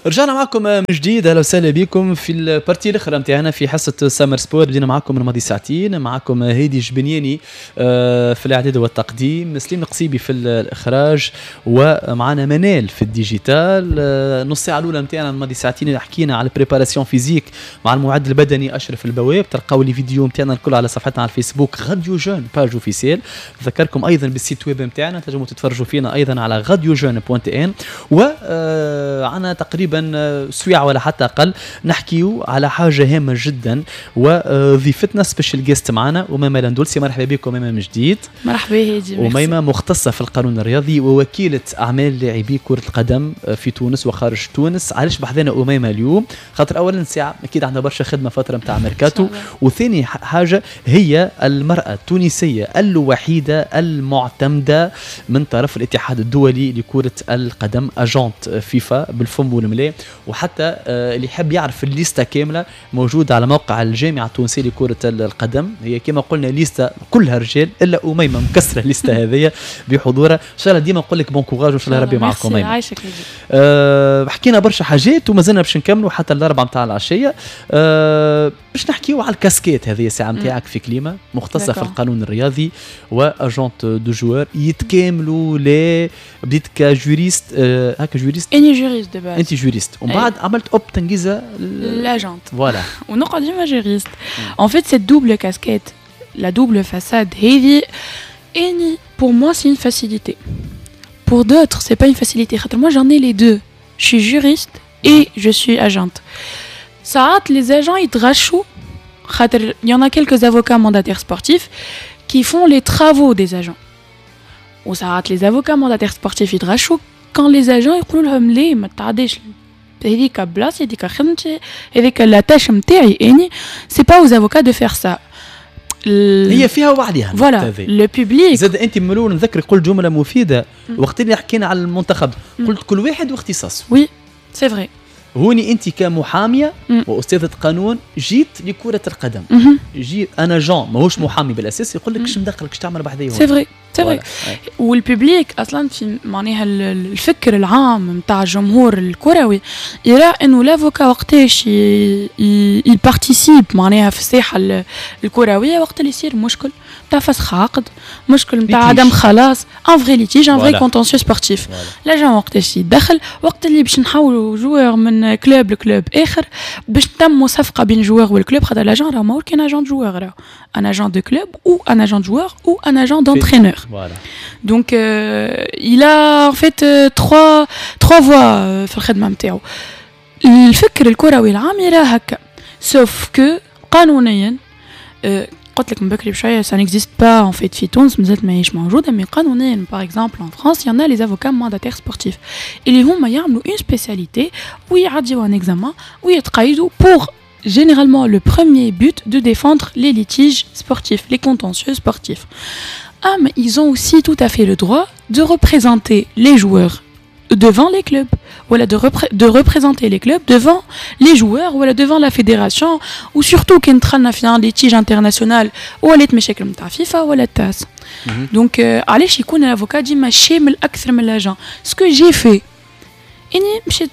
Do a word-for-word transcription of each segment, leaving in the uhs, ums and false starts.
رجعنا معكم من جديد، اهلا وسهلا بكم في ال partie الاخرى نتاعنا في حصة سمر سبور. بدينا معكم الماضي ساعتين، معكم هادي جبنياني آه، في الاعداد والتقديم، سليم القصيبي في الاخراج، ومعنا منال في ال digital. آه، نص ساعة الاولى نتاعنا الماضي ساعتين حكينا على ال préparation physique مع المعد البدني اشرف البواب. تلقاو les vidéos نتاعنا الكل على صفحتنا على الفيسبوك راديو جون page officielle. نذكركم ايضا بال site web نتاعنا، تنجموا تتفرجوا فينا ايضا على راديو جون point tn. وعنا تقريبا سويعه ولا حتى اقل نحكيو على حاجة هامة جدا، وضيفتنا special guest معنا اميمة لندولسي. مرحبا بكم اميمة من جديد. مرحبا هادي. اميمة مختصة في القانون الرياضي ووكيله اعمال لاعبي كره القدم في تونس وخارج تونس. علاش بحذانا اميمة اليوم؟ خاطر اولا ساعة اكيد عندها برشا خدمة فترة نتاع ميركاتو، وثاني حاجة هي المراة التونسية الوحيدة المعتمدة من طرف الاتحاد الدولي لكرة القدم، agente فيفا بالفم والملا. وحتى آه، اللي يحب يعرف الليستة كاملة موجودة على موقع الجامعة التونسية لكرة القدم. هي كما قلنا ليسته كلها رجال الا اميمة مكسرة الليستة هذه بحضورها. ان شاء الله ديما نقول لك bon courage وان شاء الله ربي معكم اميمه. عايشك. أه حكينا برشا حاجات وما زلنا باش نكملوا حتى الاربعة نتاع العشيه. أه باش نحكيو على الكاسكيت هذه الساعة نتاعك في كليمه، مختصة في القانون الرياضي و agente de joueurs، يتكاملوا لا؟ بديت ك juriste، أه هكا juriste؟ اني juriste de base. انت juriste ومن بعد عملت hop تنقيزه l'agente. voilà. ونقعد ديما juriste. En fait, cette double casquette, la double façade هذه اني pour moi c'est une facilité. Pour d'autres, c'est pas une facilité. خاطر moi j'en ai les deux. Je suis juriste et je suis agente. ساعات les agents يتغشوا خاطر il y en a quelques avocats mandataires sportifs qui font les travaux des agents. وساعات les avocats mandataires sportifs يتغشوا quand les agents يقولوا لهم ليه ما تعديش هذيك بلاصتي، هذيك خدمتي، هذيك la tâche نتاعي اني، c'est pas aux avocats de faire ça. هي فيها وعليها. voilà le public. زاد انت من الاول نذكرك قلت جملة مفيدة وقت اللي حكينا على المنتخب، قلت كل واحد واختصاصه. oui، c'est vrai. هوني انت كمحاميه واستاذه قانون جيت لكرة القدم، يجي un agent ماهوش محامي بالاساس يقول لك ايش مدخلك، ايش تعمل بحذايا؟ c'est vrai، c'est vrai. وال public اصلا في معناها الفكر العام نتاع الجمهور الكروي يرى انه l'avocat وقتاش ي participe معناها في الساحة الكرويه؟ وقت اللي يصير مشكل نتاع فسخ عقد، مشكل نتاع عدم خلاص، un vrai litige، un vrai contentieux sportif. l'agent وقتاش يدخل؟ وقت اللي باش نحولوا joueur من club ل club اخر، باش تم صفقة بين joueur وال club. خاطر l'agent راه ماهوش كان agent joueur، راه un agent de club ou un agent de joueur ou un agent d'entraîneur. Voilà. Donc euh, il a en fait euh, trois trois voies في الخدمة نتاعو. الفكر الكروي العام يرى هكا، sauf que قانونيا قلت لك من بكري بشوية ça n'existe pas en fait في تونس، مازالت ماهيش موجوده. mais قانونيا par exemple en France y en a les avocats mandataires sportifs اللي هما يعملوا une spécialité ويعديو un examen ويتقيدوا pour généralement le premier but de défendre les litiges sportifs, les contentieux sportifs. Ah, mais ils ont aussi tout à fait le droit de représenter les joueurs devant les clubs, voilà, de, repré de représenter les clubs devant les joueurs, voilà, devant la fédération, ou surtout كان دخلنا في un litige international ولات مشاكل نتاع فيفا ولا التاس. donc علاش يكون l'avocat ديما شامل اكثر من l'agent؟ ce que j'ai fait اني مشيت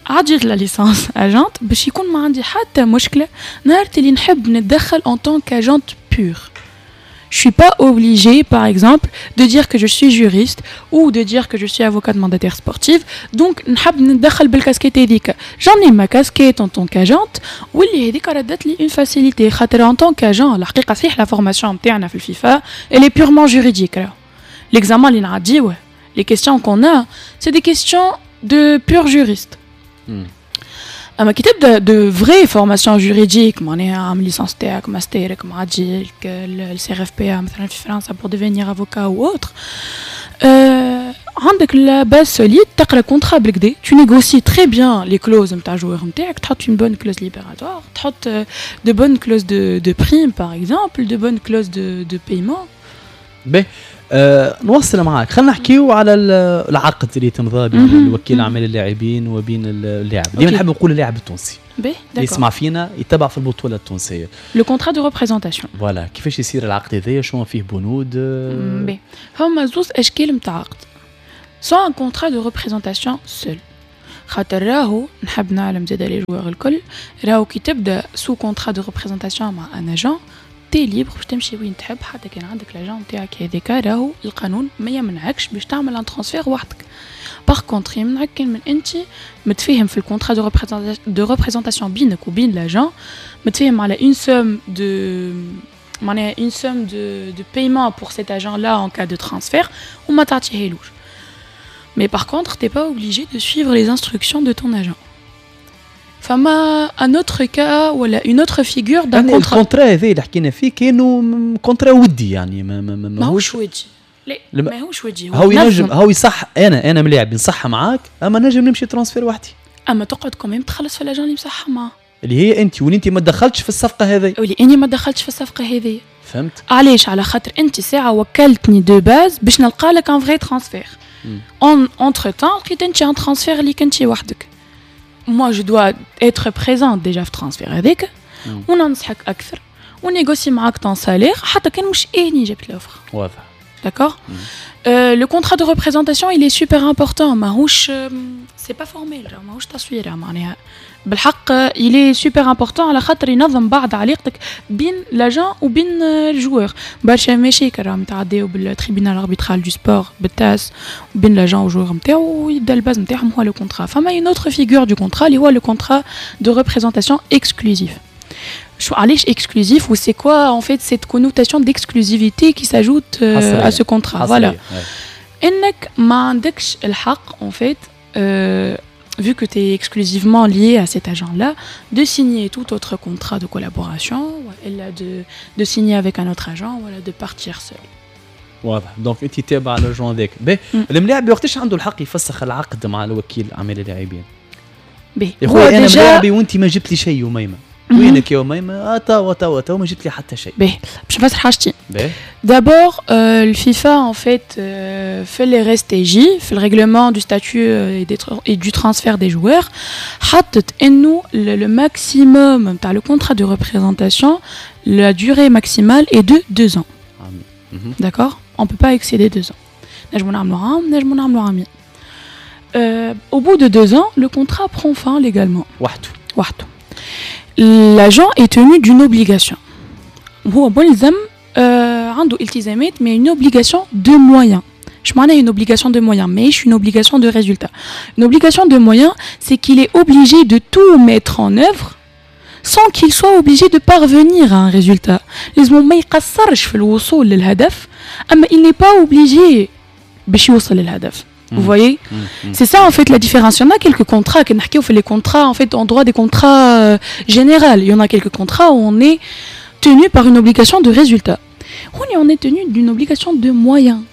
عديت la licence agente باش يكون ما عندي حتى مشكلة نهار اللي نحب نتدخل en tant qu'agente pure. Je suis pas obligée, par exemple, de dire que je suis juriste ou de dire que je suis avocate mandataire sportive. Donc, نحب ندخل بالكاسكيت هذيك. J'en ai ma casquette en tant qu'agente واللي هذيك ردت لي une facilité. خاطر en tant qu'agent الحقيقة صحيح la formation نتاعنا في الفيفا elle est purement juridique. L'examen اللي نعديوه، les questions qu'on a, c'est des questions de pur juriste. اما كي تبدا de vraies formations juridiques، معناها عامل licence تاعك، ماسترك، معدي ال CRFPA مثلا في فرنسا pour devenir avocat ou autre، عندك la base solide، تقرا contrat بالكدا، tu négocies très bien les clauses نتاع joueur نتاعك، تحط une bonne clause libératoire، تحط de bonnes clauses de de prime par exemple، de bonnes clauses de de paiement. باهي، أه نوصل معاك، خلينا نحكيو على العقد اللي تمضى بين الوكيل اعمال اللاعبين وبين اللاعب. ديما نحب نقول اللاعب التونسي باهي اللي يسمع فينا يتبع في البطولة التونسيه. le contrat de représentation. voilà، كيفاش يصير العقد هذايا؟ شنو فيه بنود؟ باهي، هما زوز اشكال نتاع عقد: soit un contrat de représentation seul. خاطر راهو نحب نعلم زاد les joueurs الكل، راهو كي تبدا sous contrat de représentation مع un agent، t'es libre باش تمشي وين تحب. حتى كان عندك l'agent نتاعك هذاك، راهو القانون ما يمنعكش باش تعمل un transfert وحدك. par contre يمنعك كان من انت متفاهم في ال contrat de de représentation بينك وبين l'agent، متفاهم على une somme de معناها une somme de de paiement pour cet agent-là en cas de transfert وما تعطيهالوش. Mais par contre, t'es pas obligé de suivre les instructions de ton agent. فما un autre cas ولا une autre figure d'un يعني contrat. ال contrat هذا اللي حكينا فيه كانوا contrat ودي، يعني ما ما ما ماهوش ودي، لا. لما- ماهوش ودي. هو ينجم نظم. هو يصح، انا انا ملاعب نصح معاك، اما نجم نمشي transfert وحدي. اما تقعد quand même تخلص في l'agent اللي مصحح معاه. اللي هي انت، واللي انت ما دخلتش في الصفقة هذه. واللي اني ما دخلتش في الصفقة هذه. فهمت. علاش؟ على خاطر انت ساعة وكلتني de base باش نلقى لك un vrai transfert. en entre-temps لقيت انت un transfert اللي كنتي وحدك. moi je dois être présente déjà في transfert هذاك مم. وننصحك اكثر و négocier معاك ton salaire، حتى كان مش اني جبت l'offre. واضح. D'accord. euh, Le contrat de représentation, il est super important. ماهوش c'est pas formel، ماهوش تصويره معناها. بالحق il est super important على خاطر ينظم بعض علاقتك بين l'agent وبين ال joueur. برشا مشاكل راهم يتعداو بال tribunal arbitral du sport، بال TAS، بين l'agent وال joueur نتاعو، ويبدا ال base نتاعهم هو le contrat. فما une autre figure du contrat اللي هو le contrat de représentation exclusif. شو علاش exclusif و c'est quoi en fait cette connotation d'exclusivité qui s'ajoute euh, à ce contrat؟ voilà، انك ما عندكش الحق en fait، euh, vu que tu es exclusivement lié à cet agent-là, de signer tout autre contrat de collaboration, ولا de, de signer avec un autre agent, ولا de partir seul. واضح، donc انت تابع l'agent هذاك. باهي، الملاعب وقتاش عنده الحق يفسخ العقد مع الوكيل اعمال اللاعبين؟ باهي. يا خويا، انا ملاعبي وانت ما جبت لي شيء، أميمة وينك يا أميمة؟ آه توا توا توا ما جبت لي حتى شيء. باهي، باش نفسر حاجتين. باهي. D'abord, euh, le FIFA, en fait, euh, في les R S T J، في le règlement du statut et, des et du transfert des joueurs، حطت انه le, le maximum تاع le contrat de représentation، la durée maximale est de deux ans. D'accord؟ On peut pas excéder deux ans. نجمو نعملو عام، نجمو نعملو عامين. Euh, au bout de deux ans, le contrat prend fin légalement. وحده. وحده. L'agent est tenu d'une obligation. هو ملزم، آه عنده التزامات، mais une obligation de moyens. اش معناها une obligation de moyens؟ ماهيش une obligation de résultat. Une obligation de moyens, c'est qu'il est obligé de tout mettre en œuvre sans qu'il soit obligé de parvenir à un résultat. لازم ما يقصرش في الوصول للهدف، اما il n'est pas obligé باش يوصل للهدف. Vous voyez؟ C'est ça en fait la différence. Il y en a quelques contrats، كي نحكيو في les contrats en fait en droit des contrats euh, général. Il y en a quelques contrats où on est tenu par une obligation de résultat. هوني on est tenu d'une obligation de moyens.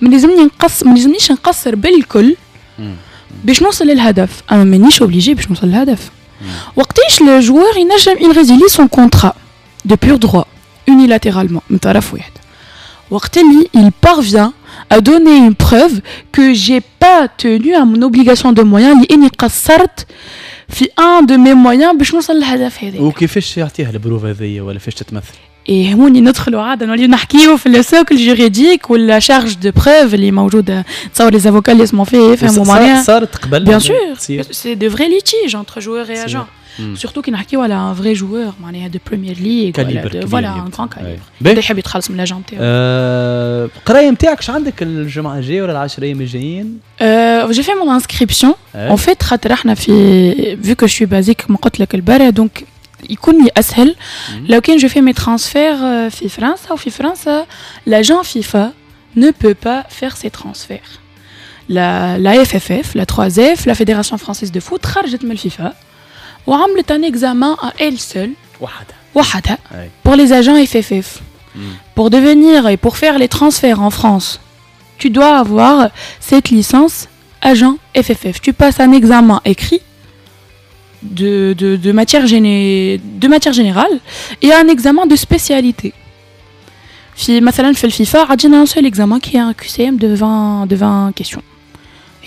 ما لازمني نقص، ما لازمنيش نقصر بالكل باش نوصل للهدف، اما مانيش obligé باش نوصل للهدف. وقتاش le joueur ينجم il résilie son contrat de pur droit unilatéralement من طرف واحد؟ وقت اللي il parvient à donner une preuve que j'ai pas tenu à mon obligation de moyens، اللي اني قصرت في un de mes moyens باش نوصل للهدف هذا. وكيفاش يعطيها ال preuve هذيا ولا فاش تتمثل؟ إيه، هوني ندخلوا عادة نوليو نحكيو في le socle juridique ولا charge de preuve اللي موجوده. تصور les avocats اللي يسمعوا فيه يفهموا معناها. صارت قبل؟ bien sûr، c'est de vrais litiges entre joueurs et agents، surtout كي نحكيو على un vrai joueur معناها de Premier League ولا de voilà un grand calibre يحب يتخلص من l'agent نتاعو. القراية نتاعك اش عندك الجمعة الجاية ولا العشر ايام الجايين؟ j'ai fait mon inscription en fait، خاطر احنا في vu que je suis basée كما قلت لك البرا، donc يكون لي اسهل لو كان je fais mes transferts في فرنسا، وفي فرنسا l'agent FIFA ne peut pas faire ses transferts. La, la F F F, la trois F, la Fédération française de foot خرجت من الفيفا وعملت un examen à elle seule. وحدها. وحدها pour les agents F F F. Pour devenir et pour faire les transferts en France, tu dois avoir cette licence agent F F F. Tu passes un examen écrit de, de, de, matière, géné de matière générale et un examen de spécialité. في مثلا في الفيفا عندنا un seul examen qui est un Q C M de vingt de vingt questions.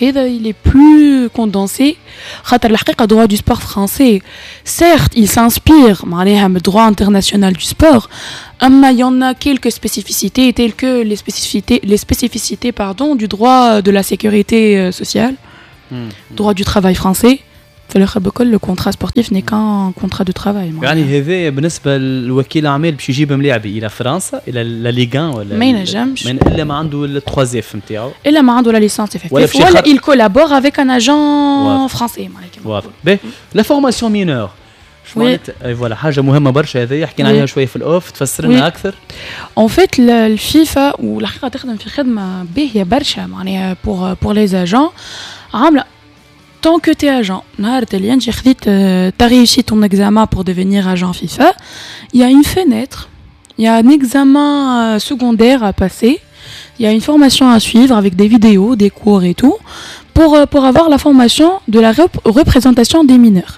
هذا il est plus condensé، خاطر الحقيقة droit du sport français، certes il s'inspire معناها من droit international du sport، أما il y en a quelques spécificités telles que les spécificités les spécificités pardon du droit de la sécurité sociale. droit du travail français. في الاخر بكل le contrat sportif n'est qu'un contrat de travail. يعني هذا بالنسبة للوكيل اعمال باش يجيب ملاعبي الى فرنسا، الى la Ligue un ولا ما ينجمش الا ما عنده ال trois F نتاعو، الا ما عنده la licence FFF ولا, ولا il collabore avec un agent français. واضح. باهي، la formation mineurs معناتها؟ voilà، حاجة مهمة برشا هذه، حكينا عليها شوية في ال off، تفسر لنا اكثر. en fait الفيفا والحقيقة تخدم في خدمة باهيه برشا معناها pour pour les agents، عامله tant que tu es agent، نهار اللي انت خذيت t'as réussi ton examen pour devenir agent FIFA، il y a une fenêtre، il y a un examen secondaire à passer، il y a une formation à suivre avec des vidéos، des cours et tout pour pour avoir la formation de la représentation des mineurs.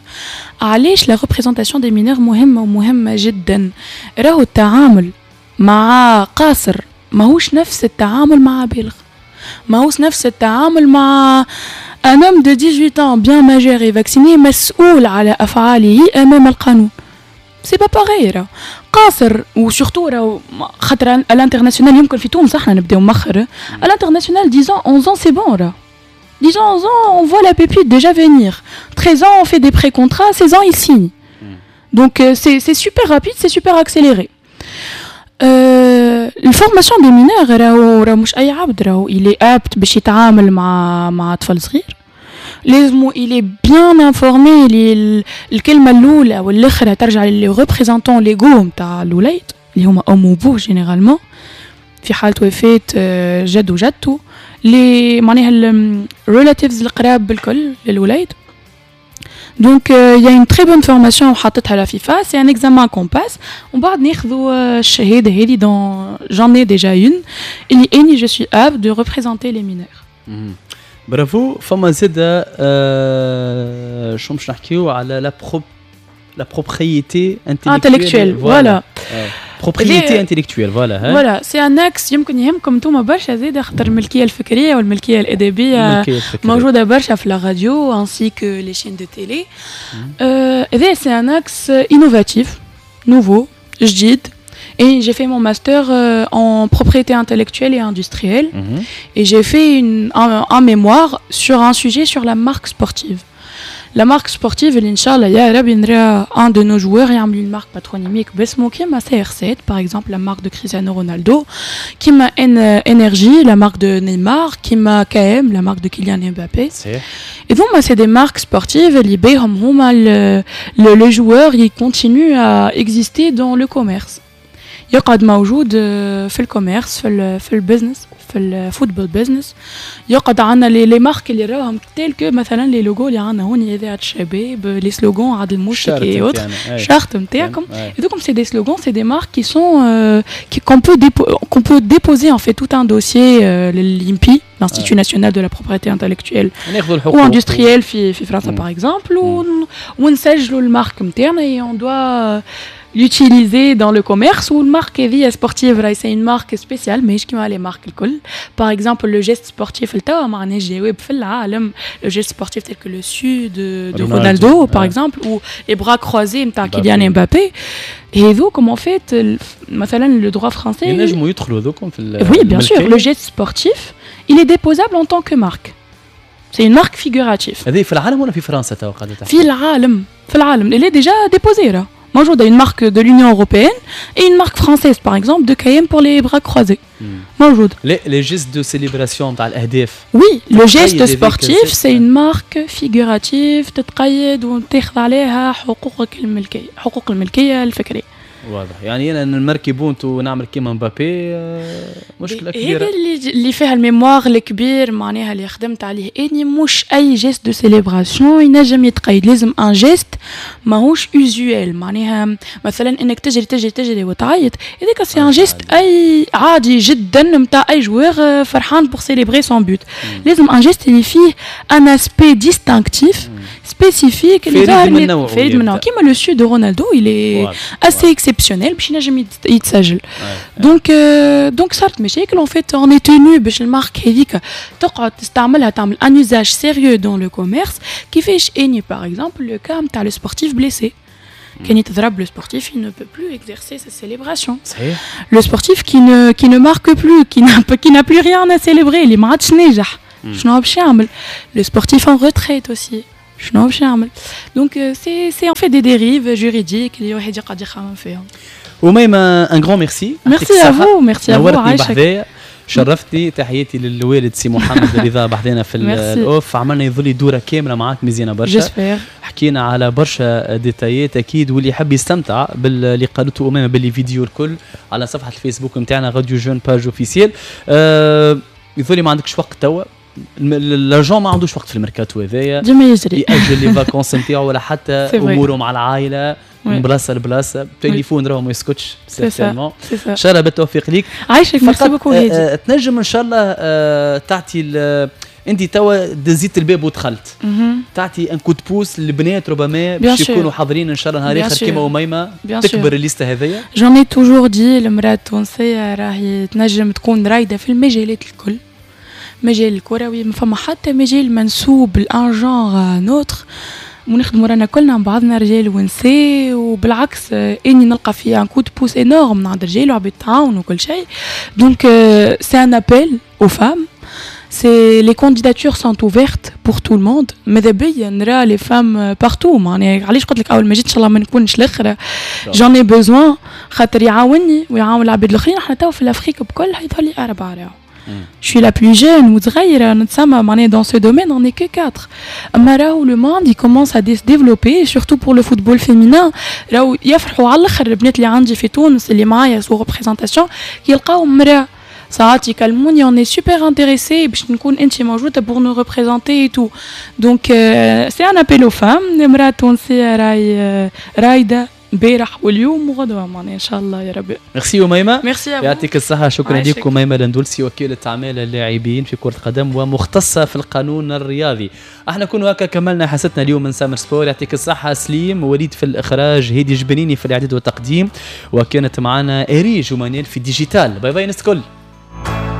علاش la représentation des mineurs مهمة ومهمة جدا؟ راهو التعامل مع قاصر ماهوش نفس التعامل مع بالغ، ماهوش نفس التعامل مع un homme de dix-huit ans bien majeur et vacciné مسؤول على أفعاله أمام القانون. c'est pas pareil راه قاصر، و surtout راهو خاطر à l'international، يمكن في تونس احنا نبداو مخر، à l'international dix ans، onze ans c'est bon راه. dix ans، onze ans، on voit la pépite déjà venir. treize ans، on fait des pré-contrats. seize ans، il signe. Donc euh, c'est super rapide، c'est super accéléré. ال formation des mineurs، راهو راهو مش اي عبد راهو il est apte باش يتعامل مع مع طفل صغير. لازمو il est bien informé اللي الكلمة الاولى والاخرى ترجع les représentants légaux نتاع الوليد، اللي هما ام وبوه généralement، في حاله وفاه جد وجدته، les معناها ال relatives القراب بالكل للوليد. donc il y a une très bonne formation حطتها la FIFA، c'est un examen qu'on passe ومن بعد ناخذوا الشهادة هذه dont j'en ai déjà une، اللي اني je suis apte de représenter les mineurs. برافو. فما زاد آه شو باش نحكيو على la pro la propriété intellectuelle، voilà. propriété intellectuelle، voilà. voilà، c'est un axe يمكن يهمكم انتوما برشا زاد، خاطر الملكية الفكرية والملكيه الادبية موجودة برشا في la radio ainsi que les chaînes de télé. هذا c'est un axe innovatif، nouveau، جديد. Et j'ai fait mon master euh, en propriété intellectuelle et industrielle. Mm -hmm. Et j'ai fait une, un, un mémoire sur un sujet sur la marque sportive. La marque sportive اللي ان شاء الله يا ربي نرى un de nos joueurs يعمل une marque patronymique باسمه، كيما C R sept par exemple، la marque de Cristiano Ronaldo، كيما N R J، la marque de Neymar، كيما K M، la marque de Kylian Mbappé. Et donc c'est des marques sportives اللي بيهم هما le, le joueur il continue à exister dans le commerce، يقعد موجود في ال commerce، في ال في ال business، في ال football business. يقعد عندنا les les marques اللي راهم telles que مثلا les logos اللي عندنا هوني، اذاعة الشباب، les slogans عاد المشتك et autres، charte نتاعكم، هذوكم c'est des slogans، c'est des marques qui sont qui qu'on peut qu'on peut déposer en fait tout un dossier لل INPI، l'Institut national de la propriété intellectuelle ou industrielle في في فرنسا par exemple، ونسجلوا ال marque نتاعنا et on doit l'utiliser dans le commerce. و ال marque هذه sportive c'est une marque spéciale، ماهيش كيما les marques الكل. par exemple le geste sportif، التوا ما عندناش جواب في العالم، le geste sportif tel que le siu de, de Ronaldo par exemple ou les bras croisés نتاع Kylian Mbappé، هذوكم en fait مثلا le droit français ينجموا يدخلوا هذوكم في oui bien sûr، le geste sportif il est déposable en tant que marque، c'est une marque figurative. هذه في العالم ولا في فرنسا تو قاعدة؟ في العالم، في العالم elle est déjà déposée راه موجودة une marque de l'Union européenne et une marque française par exemple de K M pour les bras croisés موجود. les les gestes de célébration تاع الاهداف؟ oui، le geste sportif c'est une marque figurative، تتقيد وتاخذ عليها حقوقك الملكيه، حقوق الملكية الفكريه. واضح، يعني انا نماركي but ونعمل كيما مبابي آه، مشكلة كبيره. هذا اللي اللي فيها ال mémoire الكبير معناها اللي خدمت عليه اني، مش اي geste de célébration ينجم يتقيد، لازم un geste ماهوش usuel. معناها مثلا انك تجري تجري تجري وتعيط، هذاك c'est un geste اي عادي جدا نتاع اي joueur فرحان pour célébrer son but. لازم un geste اللي فيه un aspect distinctif spécifique، اللي فريد من نوعه. فريد من نوعه، كيما le siu de Ronaldo، il est assez exceptionnel باش ينجم يتسجل. donc donc صارت مشاكل، en fait on est tenu باش ال marque هذيك تقعد تستعملها، تعمل un usage sérieux dans le commerce. كيفاش اني par exemple le cas نتاع le sportif blessé، كان يتضرب le sportif، il ne peut plus exercer sa célébration. صحيح. Le sportif qui ne qui ne marque plus، qui n'a qui n'a plus rien à célébrer، اللي ما عادش ناجح. شنو باش يعمل؟ le sportif en retraite aussi شنو باش يعمل؟ donc c'est c'est en fait des dérives juridiques اللي واحد يقعد يخمم فيهم. وميمة، un grand merci. merci à vous، merci à vous. عايشك، شرفتني. تحياتي للوالد سي محمد رضا بحذانا في ال off. عملنا يظل دوره كاملة معاك مزيانه برشا. j'espère. حكينا على برشا détails اكيد، واللي يحب يستمتع باللي قالته امامه بال les vidéos الكل على صفحة الفيسبوك نتاعنا راديو Jeunes page officielle. أه يظل ما عندكش وقت توا، l'agent ما عندوش وقت في الميركاتو هذايا. ديما يجري. ياجل les vacances نتاعو ولا حتى اموره مع العائله، من بلاصة لبلاصه، تليفون راهو ما يسكتش certainement. ان شاء الله بالتوفيق ليك. عايشك، merci beaucoup هادي. آه، تنجم ان شاء الله آه، تعطي، انت توا دزيت الباب ودخلت، تعطي un coup de pouce للبنات ربما باش يكونوا حاضرين ان شاء الله نهار اخر كيما اميمه، تكبر الليستة هذيا؟ j'en ai toujours dit، المراة التونسية راهي تنجم تكون رايده في المجالات الكل. مجال الكروي ما فما حتى مجال منسوب ل un genre à un autre، ونخدموا رانا كلنا مع بعضنا رجال ونساء. وبالعكس اني نلقى فيه un coup de pouce énorme من عند الرجال وعباد تعاون وكل شيء. donc c'est un appel aux femmes، c'est les candidatures sont ouvertes pour tout le monde. ماذا بيا نرى les femmes partout. معناها علاش قلت لك اول ما جيت ان شاء الله ما نكونش الاخرى، j'en ai besoin خاطر يعاوني ويعاون العباد الاخرين. احنا تو في l'Afrique بكل يظهر لي اربعة راهو. Je suis la plus jeune وصغيرة نتسمى معناها dans ce domaine on est que quatre. أما راهو le monde il commence à se développer، surtout pour le football féminin. راهو يفرحوا على الاخر البنات اللي عندي في تونس اللي معايا sous représentation، يلقاو مرا، ساعات يكلموني on est super intéressé باش نكون انت موجودة pour nous représenter et tout. donc c'est un appel aux femmes، المراة التونسية راهي رايده امبارح واليوم وغدوه معناها ان شاء الله يا ربي. ميرسي اميمه. ميرسي. يعطيك الصحه، شكرا لك اميمة الاندلسي، وكيله اعمال اللاعبين في كره القدم ومختصه في القانون الرياضي. احنا كنا هكا كملنا حصتنا اليوم من سامر سبور. يعطيك الصحة سليم وليد في الاخراج، هيدي جبنيني في الاعداد والتقديم، وكانت معنا اريج ومانيل في digital. bye bye ناس الكل.